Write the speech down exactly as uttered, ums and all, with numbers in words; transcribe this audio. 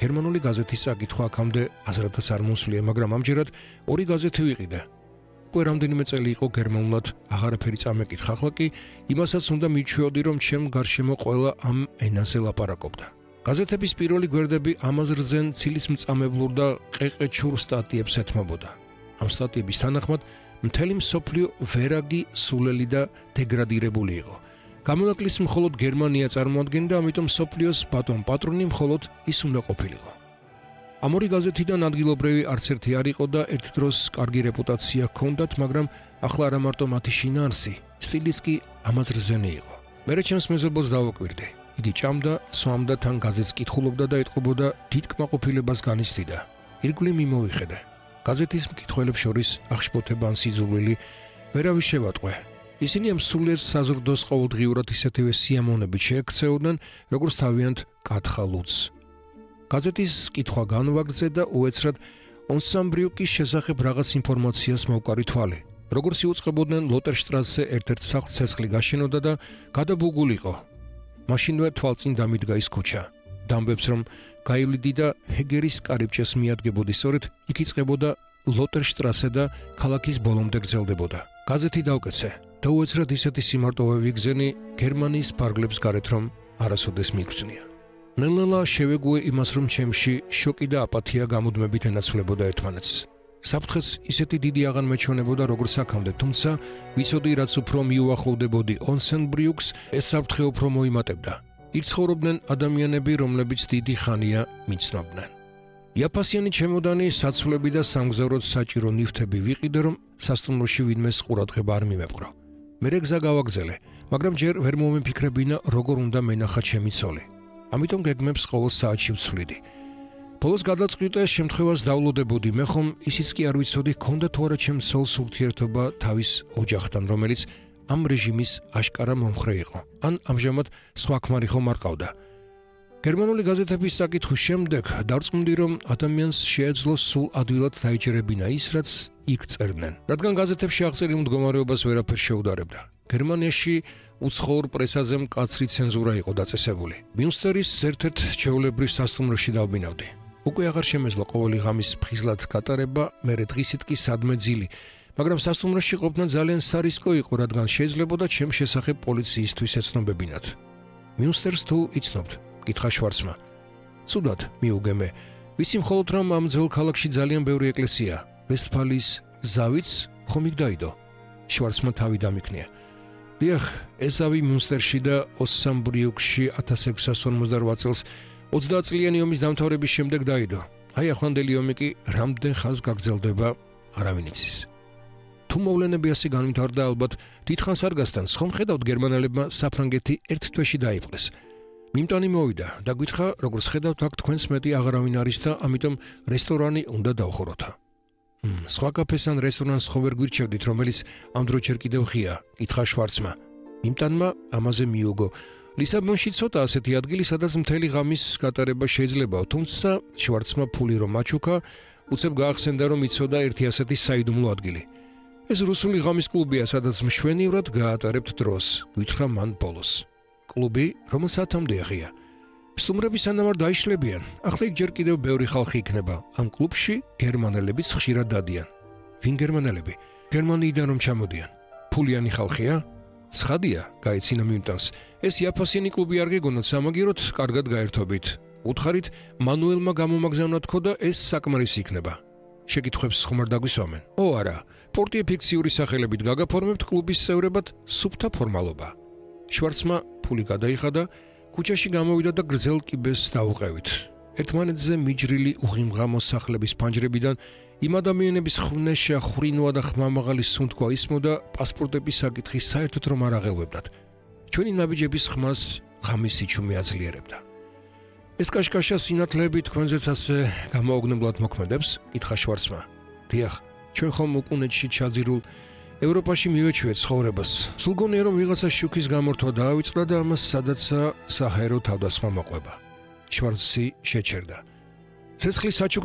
გერმანული გაზეთის საკითხვა აქამდე აზრადაც არ მოსვლია, მაგრამ ამჯერად ორი გაზეთი ვიყიდე. უკვე რამდენიმე წელი იყო გერმანულად აღარაფერი წამეკითხა, ახლა კი იმასაც უნდა მიჩვეოდი, რომ ჩემ გარშემო ყველა ამ ენაზე ლაპარაკობდა. გაზეთების პირველი გვერდები ამ აზრზენ ცილის მწამებლურ და ყეყეჩურ სტატიებს ეთმობოდა. ამ სტატიების თანახმად მთელი მსოფლიო ვერაგი, სულელი და დეგრადირებული იყო. გამონაკლისს მხოლოდ გერმანია წარმოადგენდა, ამიტომ მსოფლიოს ბატონ პატრონი მხოლოდ ის უნდა ყოფილიყო. ამ ორი გაზეთიდან ადგილობრივი არც ერთი არ იყო და ერთ დროს კარგი რეპუტაცია ჰქონდათ, მაგრამ ახლა არა მარტო მათი შინაარსი, სტილიც კი ამ აზრზენი იყო. მერე ჩემს მეზობელს დავაკვირდი. იგი ჭამდა, სვამდა, თან გაზეთს კითხულობდა და ეტყობოდა დიდ კმაყოფილებას განიცდიდა. ირგვლივ მიმოვიხედე. გაზეთის მკითხველებს შორის აღშფოთება ან სიძულვილი ვერავის შევატყვე. ისინი ამ სულიერ საზრდოს ყოველდღიურად ისეთივე სიამოვნებით შეექცეოდნენ, როგორც თავიანთ კათხალუძს. გაზეთის კითხვა განვაგრძე და უეცრად ონსამბრიუკის შესახებ რაღაც ინფორმაციას მოვკარი თვალი. როგორც იუწყებოდნენ, ლოტერშტრასზე ერთ-ერთ სახლს ცეცხლი გაშენოდა და გადაბუგულიყო. მაშინვე თვალწინ დამიდგა ის ქუჩა. დამბებს რომ გაივლიდი და ჰეგერის კარიბჭეს მიადგებოდი, სწორედ იქ იწყებოდა ლოტერშტრასე და ქალაქის ბოლომდე გრძელდებოდა. გაზეთი დავკეცე და უეცრად ისეთი სიმარტოვე ვიგზენი გერმანიის ფარგლებს გარეთ, რომ არასოდეს მიგვწნია. ნელ-ნელა შევეგუე იმას, რომ ჩემში შოკი და აპათია გამუდმებით ენაცვლებოდა ერთმანეთს. საფრთხეს ისეთი დიდი აღარ მეჩვენებოდა, როგორც აქამდე, თუმცა ვიცოდი, რაც უფრო მიუახლოვდებოდი ონსენბრიუკს, ეს საფრთხე უფრო მოიმატებდა. იქ ცხოვრობდნენ ადამიანები, რომლებიც დიდი ხანია მიცნობდნენ. იაფასიანი ჩემოდანი, საცვლები და სამგზავროდ საჭირო ნივთები ვიყიდე, რომ სასტუმროში ვინმეს ყურადღება არ მიმეპყრო. მერე გზა გავაგზელე, მაგრამ ჯერ ვერ მომიფიქრებინა, როგორ უნდა მენახა ჩემი ცოლი. ამიტომ გეგმებს ყოველ საათში ვცვლიდი. ბოლოს გადაწყვიტე შემთხვევას დავლოდებოდი, მე ხომ ისიც კი არ ვიცოდი, ჰქონდა თუ არა ჩემს ცოლს ურთიერთობა თავის ოჯახთან, რომელიც ამ რეჟიმის აშკარა მომხრე იყო. ან ამჟამად სხვა ქმარი ხომ არ ყავდა. გერმანული გაზეთების საკითხვის შემდეგ დარწმუნდი, რომ ადამიანს შეეძლო სულ ადვილად დაიჯერებინა ის, რაც იქ წერდნენ. რადგან გაზეთებში აღწერილ მდგომარეობას ვერაფერ შეუდარებდა. გერმანიაში უცხოურ პრესაზე მკაცრი ცენზურა იყო დაწესებული. მიუნსტერის ერთ-ერთ ჩვეულებრივ სასტუმროში დავბინავდი. უკვე აღარ შემეძლო ყოველი ღამის ფხიზლად გატარება, მერე დღისით კი სადმე ძილი, მაგრამ სასტუმროში ყოფნა ძალიან სარისკო იყო, რადგან შეიძლებოდა ჩემ შესახებ პოლიციისთვის ეცნობებინათ. მიუნსტერს თუ იცნობთ? კითხა შვარცმა. ცუდად მიუგე მე. ვიცი მხოლოდ რომ ამ ძველ ქალაქში ძალიან ბევრი ეკლესია. ვესტფალიის ზავიც ხომ იქ დაიდო? შვარცმა თავი დამიქნია. დიახ, ესავი მიუნსტერში და ოსამბრიუკში ათას ექვსასი ორმოცდარვაათ წელს ოცდაათ წლიანი ომის დამთავრების შემდეგ დაიდო. აი ახლანდელი ომი კი რამდენ ხანს გაგრძელდება, არავინ იცის. თუ მოვლენები ასე განვითარდა, ალბათ დიდხანს არ გასტანს, ხომ ხედავთ გერმანელებმა საფრანგეთი ერთ თვეში დაიპყრეს. მიმტანი მოვიდა და გითხრა, როგორც ხედავთ, აქ თქვენს მეტი აღარავინ არის და ამიტომ რესტორანი უნდა დავხუროთ. მ, სხვა კაფეს ან რესტორანს ხო ვერ გვირჩევდით, რომელიც ამ დრო ჯერ კიდევ ღია, კითხა შვარცმა. მიმტანმა ამაზე მიუგო. ლისაბონში ცოტა ასეთი ადგილი, სადაც მთელი ღამის გატარება შეიძლება, თუმცა შვარცმა ფული რომ აჩუქა, უცებ გაახსენდა, რომ იცოდა ერთი ასეთი საიდუმლო ადგილი. ეს რუსული ღამის კლუბია, სადაც მშვენივრად გაატარებთ დროს, გითხრა მან ბოლოს. კლუბი, რომელსათამდე ღია. სტუმრები სანამ არ დაიშლებიან, ახლა იქ ჯერ კიდევ ბევრი ხალხი იქნება. ამ კლუბში გერმანელებიც ხშირად დადიან. ვინ გერმანელები? გერმანიიდან რომ ჩამოდიან. ფულიანი ხალხია? ცხადია, გაეცინა მიმტანს. ეს იაფასიანი კლუბი არ გეგონოთ, სამაგიეროდ კარგად გაერთობით. უთხარით, მანუელმა გამომაგზავნა თქო და ეს საკმარისი იქნება. შეკითხვებს ხომ არ დაგვისვამენ? ო არა, პორტიე ფიქციური სახელებით გაგაფორმებთ კლუბის წევრებად სუფთა ფორმალობა. შვარცმა ფული გადაიხადა, ქუჩაში გამოვიდა და გრძელ კიბეს დაუყევით. ერთმანეთზე მიჯრილი უღიმღამო სახლების ფანჯრებიდან იმ ადამიანების ხვნეშა, ხრინვა და ხმამაღალი სუნთქვა ისმოდა, პასპორტების საკითხი საერთოდ რომ არ აღელვებდათ. ჩვენი ნაბიჯების ხმას ღამის სიჩუმე აძლიერებდა. ეს კაშკაშა სინათლეები თქვენზეც ასე გამოუგნებლად მოქმედებს? კითხა შვარცმა. დიახ, ჩვენ ხომ უკუნეთში ჩაძირულ ევროპაში მივეჩვიეთ ცხოვრებას. სულ გონია რომ ვიღაცა შუქის გამორთვა დაავიწყდა და ამას სადაცა საჰაერო თავდასხმა მოყვება. შვარცი შეჩერდა. ცეცხლის საჩუქრ